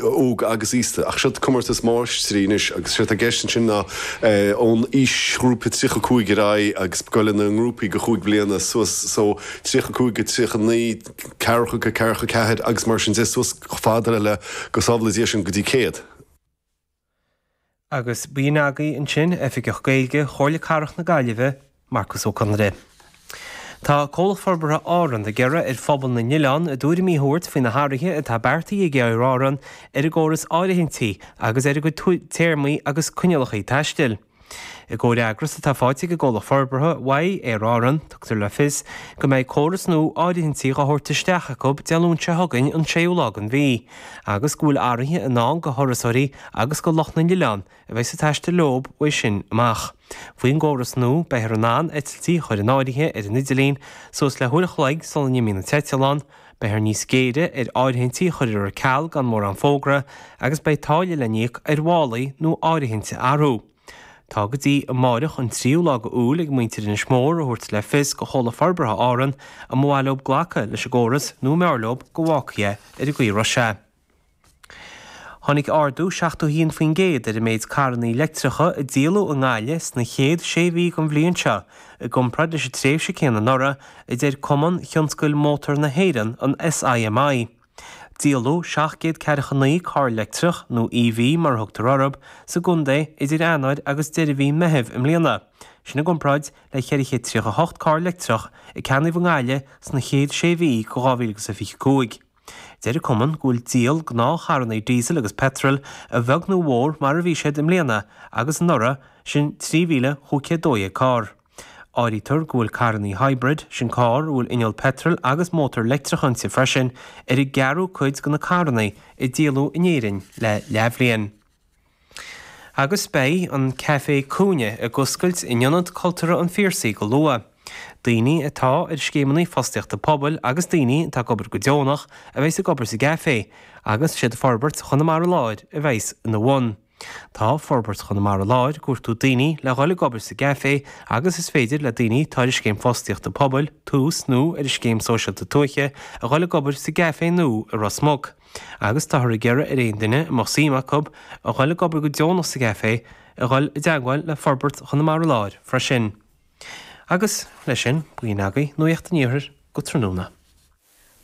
óg agus aosta. Ach seo comórtas máistrí anois agus séard atá i gceist ansin ná ón aoisghrúpa 35 ar aghaidh agus ag goil ina ngrúpaí de chúig bliana suas so 35 go 39, ceathracha go 44 agus mar sin de suas chomh fada le go sábhála Dia sinn go dtí 100. Agus b'in agaibh ansin Oifigeach Gaeilge Chomhairle Cathrach na Gaillimhe, Marcus Ó Conaire. Tá Comhlacht Forbartha Árann ag iarraidh ar phobal na n-oileán a dtuairimí a thabhairt faoi na hathruithe atá beartaithe ag Aer Árann ar a gcóras áirithintí agus ar a gcuid téarmaí agus coinníollacha taistil. I gcomhfhreagras atá faighte ag an gcomhlacht forbartha uaidh Aer Árann, tugtar le fios go mbeidh córas nua áirithintí dhá thabhairt isteach acu Dé Luain seo chugainn an séú lá den mhí, agus go bhfuil athruithe i ndán go thurasóirí agus go lucht na n-oileán a bheas ag taisteal leo uaidh sin amach. Faoin gcóras nua, beifear in ann eitiltí a chur in áirithe ar an idirlíon suas le huair a chloig sula n-imíonn an t-eitleán, Beifear níos géire ar áirithintí a chur ar ceal gan mórán fógra agus beidh táille le n-íoc ar mhálaí nó áirithint a athrú. Tá go dtí amáireach an tríú lá go Iúil ag muintir Inis Mór a thabhairt le fios go Chomhlacht Forbartha Árann an mba mhaith leo glacadh leis an gcóras nó an mb'fhearr leo go bhfágfaí é ar an gcaoi a raibh sé. Tháinig ardú 71% ar an méid carrannaí leictreacha a díoladh i nGaillimh sna chéad sé mhí den bhliain seo i gcomparáid leis an tréimhse céanna anuraidh, a deir Cumann Thionscail Mótar na hÉireann, an SIMI. Díoladh 749 carr leictreach, nó EV mar a thugtar orthu, sa gcontae idir Eanáir agus deireadh mhí Meithimh i mbliana, sin i gcomparáid le 438 carr leictreach a ceannaíodh i nGaillimh sna chéad sé mhí de 2025. Deir an cumann go bhfuil díol gnáthcharrannaí díosail agus peitril a bheag nó a mhór mar a bhí siad i mbliana agus anuraidh, sin 3,512 carr. Áirítear go bhfuil carrannaí hybrid, sin carr a bhfuil inneall peitril agus mótar leictreach inti freisin, ar an gceathrú cuid de na carrannaí a díoladh in Éirinn le leathbhliain. Agus beidh an Caifé Cúinne ag oscailt in Ionad Cultúrtha an Phiarsaigh go luath. Daoine atá ar scéimeanna fostaíochta pobail agus daoine atá ag obair go deonach a bheas ag obair sa gcaifé agus siad Forbairt Chonamara Láir a bheas ina bhun. Tá Forbairt Chonamara Láir ag cuartú daoine le dhul ag obair sa gcaifé agus is féidir le daoine atá ar an scéim fostaíochta pobail, Tús, nó ar an scéim sóisialta tuaithe a dhul ag obair sa gcaifé nua i Ros Muc. Agus táthar ag iarraidh ar aon duine a mbeadh suim acu a dhul ag obair go deonach sa gcaifé a dhul i dteagmháil le Forbairt Chonamara Láir freisin. Agus leis sin, b'in agaibh Nuacht an Iarthair go tráthnóna.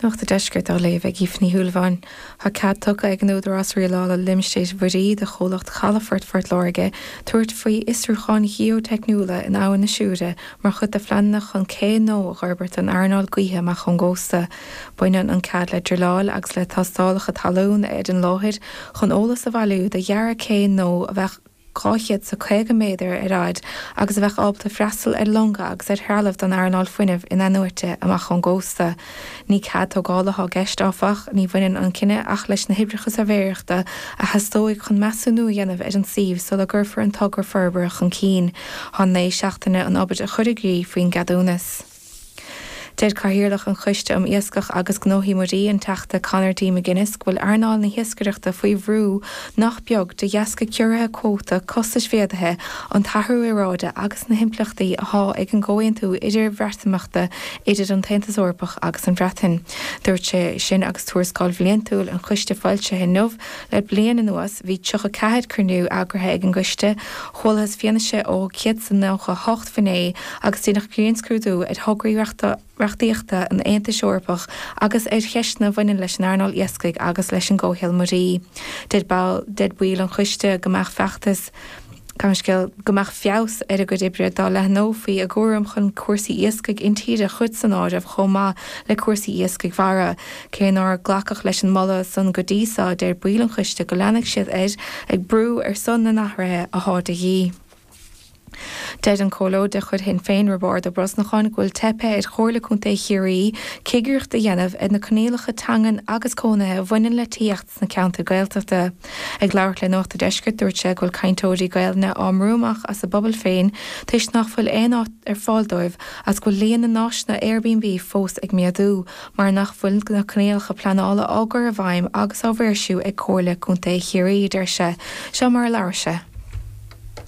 Nuacht an Deiscirt á léamh ag Aoife Ní Shúilleabháin. Tá cead tugtha ag an Údarás Rialála Limistéir Mhuirí do chomhlacht Chalafort Phort Láirge tabhairt faoi fhiosrúcháin gheoiteicniúla in Abhainn na Siúire mar chuid de phleananna chun cé nua a fhorbairt don earnáil gaoithe amach ón gcósta. Baineann an cead le druileáil agus le tástálacha talún ar an láthair chun eolas a bhailiú do dhearadh cé nua a bheadh 250 méadar ar fhaid agus a bheadh ábalta freastal ar longa agus ar threalamh don earnáil fuinnimh in-athnuaite amach ón gcósta. Ní cead tógála atá i gceist, áfach. Ní bhaineann an cinneadh ach leis na hoibreacha suirbhéireachta a theastóidh chun measúnú a dhéanamh ar an suíomh sula gcuirfear an togra forbartha chun cinn. Tá 9 seachtaine an obair a chur i gcrích faoin gceadúnas. Deir Cathaoirleach an Choiste um Iascach agus Gnóthaí Muirí, an Teachta Conor D. McGuinness, go bhfuil earnáil na hiascaireachta faoi bhrú nach beag de dheasca ciorruithe cuóta, costais mhéadaithe, an t-athrú aeráide agus na himpleachtaí atá ag an gcomhaontú idir-Bhreatimeachta idir an tAontas Eorpach agus an Bhreatain. Dúirt sé sin agus tuarascáil bhliantúil an choiste foilsithe inniu. Le bliain anuas, bhí 34 cruinniú eagraithe ag an gcoiste, chualathas fianaise ó 198 finné agus déanadh grinnscrúdú ar thograí reachtaíochta an Aontais Eorpaigh agus ar cheisteanna a bhaineann leis an earnáil iascaigh agus leis an gcomhshaol muirí. Deir baill an choiste go mbeadh feachtas, gabh mo leithscéal, go mbeadh feabhas ar a gcuid oibre dá leathnófaí a gcúram chun cúrsaí iascaigh intíre a chur san áireamh chomh maith le cúrsaí iascaigh mhara. Cé nár glacadh leis an moladh san go dtí seo, deir baill an choiste go leanfaidh siad air ag brú ar son na n-athruithe athá de dhíth. Deir an Comhairleoir de chuid Shinn Féin, Roibeárd Ó Brosnacháin, go bhfuil teipthe ar Chomhairle Contae Chiarraí cigireacht a dhéanamh ar na coinníollacha teangan agus cónaithe a bhaineann le tithíocht sna ceantair Gaeltachta. Ag labhairt le Nuacht a' Deiscirt, dúirt sé go bhfuil cainteoirí Gaelainne á mbrú amach as a bpobail féin toisc nach bhfuil aon áit ar fáil dóibh agus go bhfuil líon na n-áiseanna Airbnb fós ag méadú mar nach bhfuil na coinníollacha pleanála á gcur i bhfeidhm agus á mhaoirsiú ag Comhairle Contae Chiarraí, a deir sé. Seo mar a labhair sé.